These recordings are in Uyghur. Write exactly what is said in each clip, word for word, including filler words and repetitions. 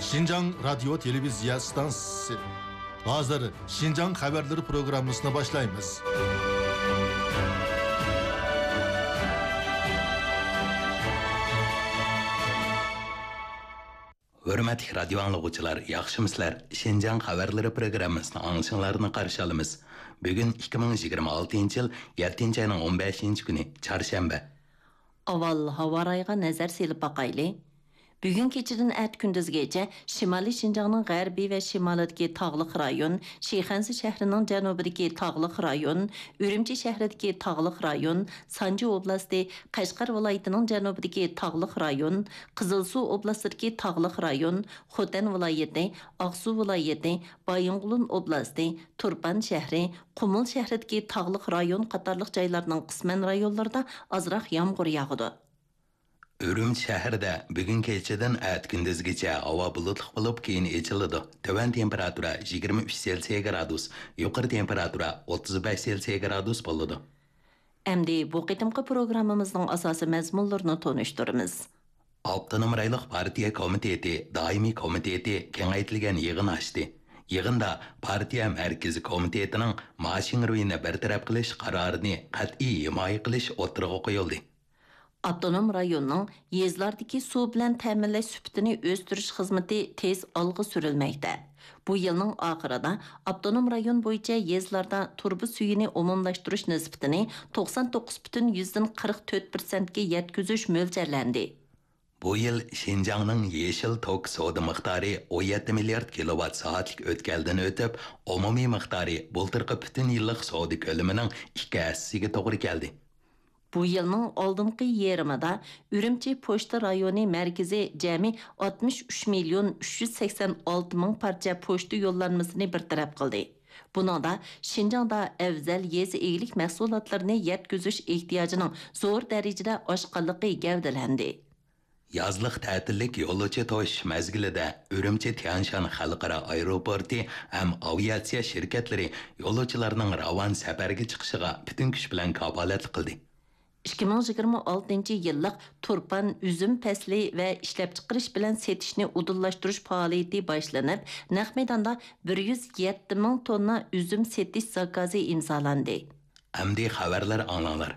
شىنجاڭ رادىيو تېلېۋىزىيە ئىستانسىسى. ھازىر شىنجاڭ خەۋەرلىرى پروگراممىسىنى باشلايمىز. ھۆرمەتلىك رادىيو ئاڭلىغۇچىلار، ياخشىمۇسىلەر؟ شىنجاڭ خەۋەرلىرى پروگراممىسىنى ئاڭلىشىڭلارنى قارشى ئالىمىز. بۈگۈن ئىككى مىڭ يىگىرمە ئالتىنچى يىل يەتتىنچى ئاينىڭ ئون بەشىنچى كۈنى، چارشەنبە. ئاۋۋال ھاۋا رايىغا نەزەر سېلىپ باقايلى. بۈگۈن كېچىدىن ئەتە كۈندۈزگىچە شىمالىي شىنجاڭنىڭ غەربىي ۋە شىمالىدىكى تاغلىق رايون، شىخەنزە شەھىرىنىڭ جەنۇبىدىكى تاغلىق رايون، ئۈرۈمچى شەھىرىدىكى تاغلىق رايون، سانجى ئوبلاستى، قەشقەر ۋىلايىتىنىڭ جەنۇبىدىكى تاغلىق رايون، قىزىلسۇ ئوبلاستىدىكى تاغلىق رايون، خوتەن ۋىلايىتى، ئاقسۇ ۋىلايىتى، بايىنغولىن ئوبلاستى، تۇرپان شەھىرى، قۇمۇل شەھىرىدىكى تاغلىق رايون قاتارلىق جايلارنىڭ قىسمەن رايونلىرىدا ئازراق يامغۇر ياغىدۇ. ئۈرۈمچى شەھىرىدە بۈگۈن كېچىدىن ئەتە كۈندۈزگىچە ھاۋا بۇلۇتلۇق بولۇپ، كېيىن ئېچىلىدۇ. تۆۋەن تېمپېراتۇرا يىگىرمە ئۈچ سېلسىيە گرادۇس، يۇقىرى تېمپېراتۇرا ئوتتۇز بەش سېلسىيە گرادۇس بولىدۇ. ئەمدى بۇ قېتىمقى پروگراممىمىزنىڭ ئاساسىي مەزمۇنلىرىنى تونۇشتۇرىمىز. ئاپتونوم رايونلۇق پارتىيە كومىتېتى دائىمىي كومىتېتى كېڭەيتىلگەن يىغىن ئاچتى. يىغىندا پارتىيە مەركىزىي كومىتېتىنىڭ ما شىڭرۇينى بىر تەرەپ قىلىش قارارىنى قەتئىي ھىمايە قىلىش ئوتتۇرىغا قويۇلدى. ئاپتونوم رايوننىڭ يېزىلاردىكى سۇ بىلەن تەمىنلەش سۈپىتىنى ئۆستۈرۈش خىزمىتى تېز ئالغا سۈرۈلمەكتە. بۇ يىلنىڭ ئاخىرىدا ئاپتونوم رايون بويىچە يېزىلاردا تۇرۇبا سۈيىنى ئومۇملاشتۇرۇش نىسبىتىنى توقسان توققۇز پۈتۈن يۈزدىن قىرىق تۆت پىرسەنتكە يەتكۈزۈش مۆلچەرلەندى. بۇ يىل شىنجاڭنىڭ يېشىل توك سودا مىقدارى ئون يەتتە مىليارد كىلوۋات سائەتلىك ئۆتكەلدىن ئۆتۈپ، ئومۇمىي مىقدارى بۇلتۇرقى پۈتۈن يىللىق سودا كۆلىمىنىڭ ئىككى ھەسسىسىگە توغرا كەلدى. بۇ يىلنىڭ ئالدىنقى يېرىمىدا ئۈرۈمچى پوچتا رايونى مەركىزى جەمئىي ئاتمىش ئۈچ مىليون ئۈچ يۈز سەكسەن ئالتە مىڭ پارچە پوچتا يوللانمىسىنى بىر تەرەپ قىلدى. بۇنىڭدا شىنجاڭدا ئەۋزەل يېزا ئىگىلىك مەھسۇلاتلىرىنى يەتكۈزۈش ئېھتىياجىنىڭ زور دەرىجىدە ئاشقانلىقى گەۋدىلەندى. يازلىق تەتىللىك يولۇچى توشۇش مەزگىلىدە ئۈرۈمچى تيەنشان خەلقئارا ئايروپورتى ھەم ئاۋىئاتسىيە شىركەتلىرى يولۇچىلارنىڭ راۋان سەپەرگە چىقىشىغا پۈتۈن كۈچ بىلەن كاپالەتلىك قىلدى. ئىككى مىڭ يىگىرمە ئالتىنچى يىللىق تۇرپان ئۈزۈم پەسلى ۋە ئىشلەپچىقىرىش بىلەن سېتىشنى ئۇدۇللاشتۇرۇش پائالىيىتى باشلىنىپ، نەق مەيداندا بىر يۈز يەتتە مىڭ توننا ئۈزۈم سېتىش زاكازى ئىمزالاندى. ئەمدى خەۋەرلەر ئاڭلاڭلار.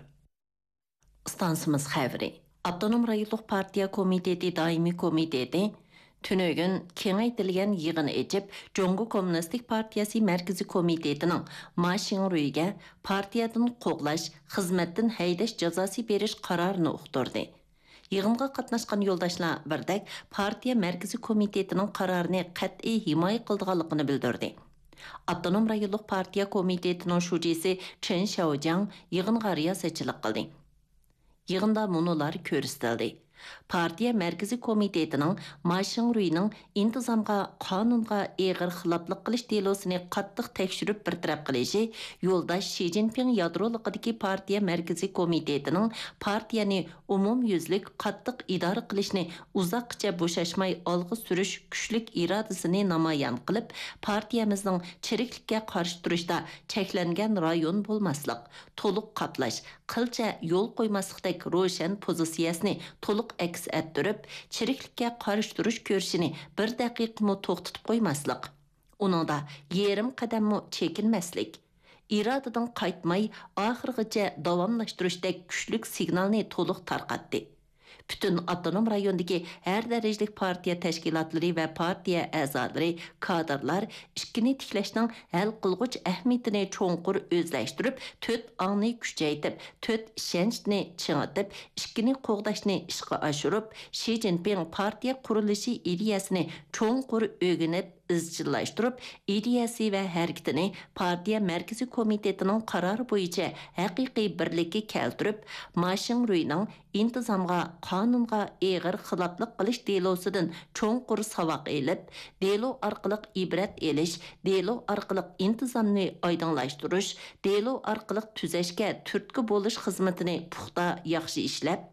ئىستانسىمىز خەۋىرى. ئاپتونوم رايونلۇق پارتىيە كومىتېتى دائىمىي كومىتېتى تۈنۈگۈن كېڭەيتىلگەن يىغىن ئېچىپ، جۇڭگو كوممۇنىستىك پارتىيەسى مەركىزىي كومىتېتىنىڭ ما شىڭرۇيگە پارتىيەدىن قوغلاش، خىزمەتتىن ھەيدەش جازاسى بېرىش قارارىنى ئۇقتۇردى. يىغىنغا قاتناشقان يولداشلار بىردەك پارتىيە مەركىزىي كومىتېتىنىڭ قارارىنى قەتئىي ھىمايە قىلىدىغانلىقىنى بىلدۈردى. ئاپتونوم رايونلۇق پارتىيە كومىتېتىنىڭ شۇجىسى چېن شياۋجياڭ يىغىنغا رىياسەتچىلىك قىلدى. يىغىندا مۇنۇلار كۆرسىتىلدى. پارتىيە مەركىزىي كومىتېتىنىڭ ما شىڭرۇينىڭ ئىنتىزامغا، قانۇنغا ئېغىر خىلاپلىق قىلىش دېلوسىنى قاتتىق تەكشۈرۈپ بىر تەرەپ قىلىشى، يولداش شى جىنپىڭ يادرولۇقىدىكى پارتىيە مەركىزىي كومىتېتىنىڭ پارتىيەنى ئومۇميۈزلۈك قاتتىق ئىدارە قىلىشنى ئۇزاققىچە بوشاشماي ئالغا سۈرۈش كۈچلۈك ئىرادىسىنى نامايان قىلىپ، پارتىيەمىزنىڭ چىرىكلىككە قارشى تۇرۇشتا چەكلەنگەن رايون بولماسلىق، تولۇق قاپلاش، قىلچە يول قويماسلىقتەك روشەن پوزىتسىيەسىنى تولۇق ئەكس ئەتتۈرۈپ، چىرىكلىككە قارشى تۇرۇش كۈرىشىنى بىر دەقىقىمۇ توختىتىپ قويماسلىق، ئۇنىڭدا يېرىم قەدەممۇ چېكىنمەسلىك، ئىرادىدىن قايتماي، ئاخىرغىچە داۋاملاشتۇرۇشتەك كۈچلۈك سىگنالنى تولۇق تارقاتتى. پۈتۈن ئاپتونوم رايوندىكى ھەر دەرىجىلىك پارتىيە تەشكىلاتلىرى ۋە پارتىيە ئەزالىرى، كادىرلار ئىككىنى تىكلەشنىڭ ھەل قىلغۇچ ئەھمىيىتىنى چوڭقۇر ئۆزلەشتۈرۈپ، تۆت ئاڭنى كۈچەيتىپ، تۆت ئىشەنچنى چىڭىتىپ، ئىككىنى قوغداشنى ئىشقا ئاشۇرۇپ، شى جىنپىڭ پارتىيە قۇرۇلۇشى ئىدىيەسىنى چوڭقۇر ئۆگىنىپ، ئىزچىللاشتۇرۇپ، ئىدىيەسى ۋە ھەرىكىتىنى پارتىيە مەركىزىي كومىتېتىنىڭ قارارى بويىچە ھەقىقىي بىرلىككە كەلتۈرۈپ، ما شىڭرۇينىڭ ئىنتىزامغا، قانۇنغا ئېغىر خىلاپلىق قىلىش دېلوسىدىن چوڭقۇر ساۋاق ئېلىپ، دېلو ئارقىلىق ئىبرەت ئېلىش، دېلو ئارقىلىق ئىنتىزامنى ئايدىڭلاشتۇرۇش، دېلو ئارقىلىق تۈزەشكە تۈرتكە بولۇش خىزمىتىنى پۇختا، ياخشى ئىشلەپ،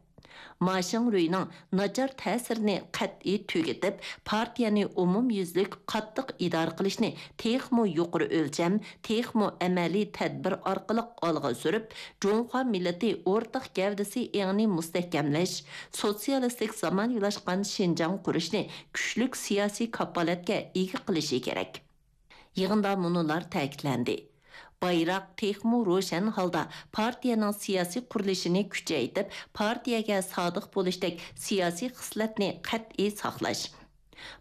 ما شىڭرۇينىڭ ناچار تەسىرىنى قەتئىي تۈگىتىپ، پارتىيەنى ئومۇميۈزلۈك قاتتىق ئىدارە قىلىشنى تېخىمۇ يۇقىرى ئۆلچەم، تېخىمۇ ئەمەلىي تەدبىر ئارقىلىق ئالغا سۈرۈپ، جۇڭخۇا مىللىتى ئورتاق گەۋدىسى ئېڭىنى مۇستەھكەملەش، سوتسىيالىستىك زامانىۋىلاشقان شىنجاڭ قۇرۇشنى كۈچلۈك سىياسىي كاپالەتكە ئىگە قىلىشى كېرەك. يىغىندا مۇنۇلار تەكىتلەندى: بايراق تېخىمۇ روشەن ھالدا پارتىيەنىڭ سىياسىي قۇرۇلۇشىنى كۈچەيتىپ، پارتىيەگە سادىق بولۇشتەك سىياسىي خىسلەتنى قەتئىي ساقلاش.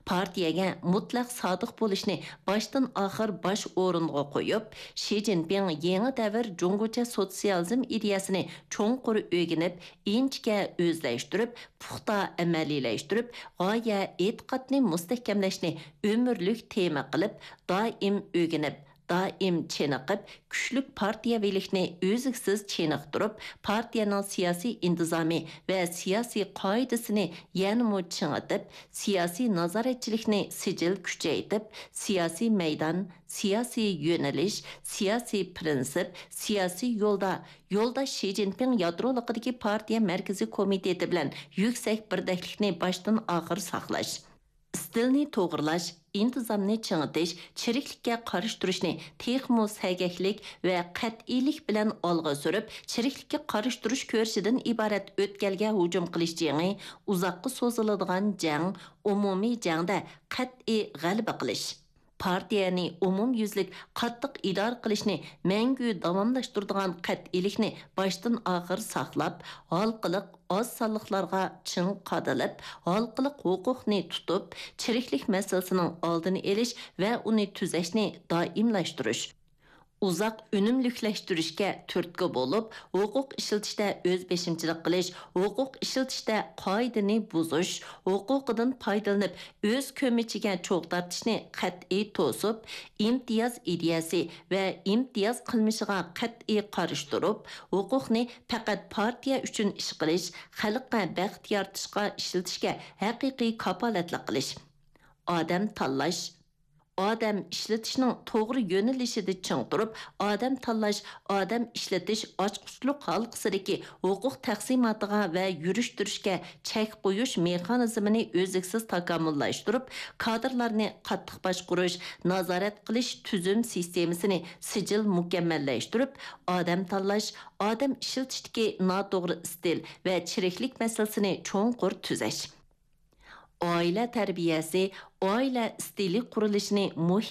پارتىيەگە مۇتلەق سادىق بولۇشنى باشتىن ئاخىر باش ئورۇنغا قويۇپ، شى جىنپىڭ يېڭى دەۋر جۇڭگوچە سوتسىيالىزم ئىدىيەسىنى چوڭقۇر ئۆگىنىپ، ئىنچىكە ئۆزلەشتۈرۈپ، پۇختا ئەمەلىيلەشتۈرۈپ، غايە ئېتىقادنى مۇستەھكەملەشنى ئۆمۈرلۈك تېما قىلىپ، دائىم ئۆگىنىپ، دائىم چېنىقىپ، كۈچلۈك پارتىيەۋىلىكنى ئۈزلۈكسىز چېنىقتۇرۇپ، پارتىيەنىڭ سىياسىي ئىنتىزامى ۋە سىياسىي قائىدىسىنى يەنىمۇ چىڭىتىپ، سىياسىي نازارەتچىلىكنى سىجىل كۈچەيتىپ، سىياسىي مەيدان، سىياسىي يۆنىلىش، سىياسىي پىرىنسىپ، سىياسىي يولدا يولداش شى جىنپىڭ يادرولۇقىدىكى پارتىيە مەركىزىي كومىتېتى بىلەن يۈكسەك بىردەكلىكنى باشتىن ئاخىر ساقلاش. ئىستىلنى توغرىلاش، ئىنتىزامنى چىڭىتىش، چىرىكلىككە قارشى تۇرۇشنى تېخىمۇ سەگەكلىك ۋە قەتئىيلىك بىلەن ئالغا سۈرۈپ، چىرىكلىككە قارشى تۇرۇش كۈرىشىدىن ئىبارەت ئۆتكەلگە ھۇجۇم قىلىش جېڭى، ئۇزاققا سوزۇلىدىغان جەڭ، ئومۇمىي جەڭدە قەتئىي غەلىبە قىلىش. پارتىيەنى ئومۇميۈزلۈك قاتتىق ئىدارە قىلىشنى مەڭگۈ داۋاملاشتۇرىدىغان قەتئىيلىكنى باشتىن ئاخىر ساقلاپ، ھالقىلىق ئاز سانلىقلارغا چىڭ قادىلىپ، ھالقىلىق ھوقۇقنى تۇتۇپ، چىرىكلىك مەسىلىسىنىڭ ئالدىنى ئېلىش ۋە ئۇنى تۈزەشنى دائىملاشتۇرۇش. ئۇزاق ئۈنۈملۈكلەشتۈرۈشكە تۈرتكە بولۇپ، ھوقۇق ئىشلىتىشتە ئۆز بېشىمچىلىق قىلىش، ھوقۇق ئىشلىتىشتە قائىدىنى بۇزۇش، ھوقۇقىدىن پايدىلىنىپ، ئۆز كۆمىچىگە چوغ تارتىشنى قەتئىي توسۇپ، ئىمتىياز ئىدىيەسى ۋە ئىمتىياز قىلمىشىغا قەتئىي قارشى تۇرۇپ، ھوقۇقنى پەقەت پارتىيە ئۈچۈن ئىش قىلىش، خەلققە بەخت يارىتىشقا ئىشلىتىشكە ھەقىقىي كاپالەتلىك قىلىش. ئادەم تاللاش، ئادەم ئىشلىتىشنىڭ توغرا يۆنىلىشىدە چىڭ تۇرۇپ، ئادەم تاللاش، ئادەم ئىشلىتىش ئاچقۇچلۇق ھالقىسىدىكى ھوقۇق تەقسىماتىغا ۋە يۈرۈشتۈرۈشكە چەك قويۇش مېخانىزمىنى ئۈزلۈكسىز تاكامۇللاشتۇرۇپ، كادىرلارنى قاتتىق باشقۇرۇش، نازارەت قىلىش تۈزۈم سىستېمىسىنى سىجىل مۇكەممەللەشتۈرۈپ، ئادەم تاللاش، ئادەم ئىشلىتىشتىكى ناتوغرا ئىستىل ۋە چىرىكلىك مەسىلىسىنى چوڭقۇر تۈزەش. ئائىلە تەربىيەسى، ئائىلە ئىستىلى قۇرۇلۇشىنى مۇھىم